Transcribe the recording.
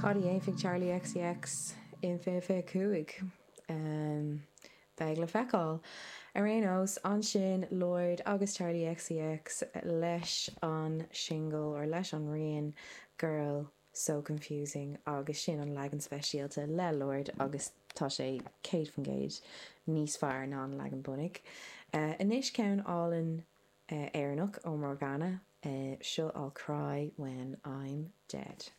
Cad a dhéanfaidh Charli XCX in 2025? Beidh le feiceáil. Ar aon nós, ansin Lorde agus Charli XCX leis an singil, or leis an rian, Girl So Confusing agus sin an leagan speisialta le Lorde agus tá sé 100% níos fearr ná an leagan bunaidh. Anois ceann álainn Éireannach ó Morgana, seo I'll Cry When I'm Dead.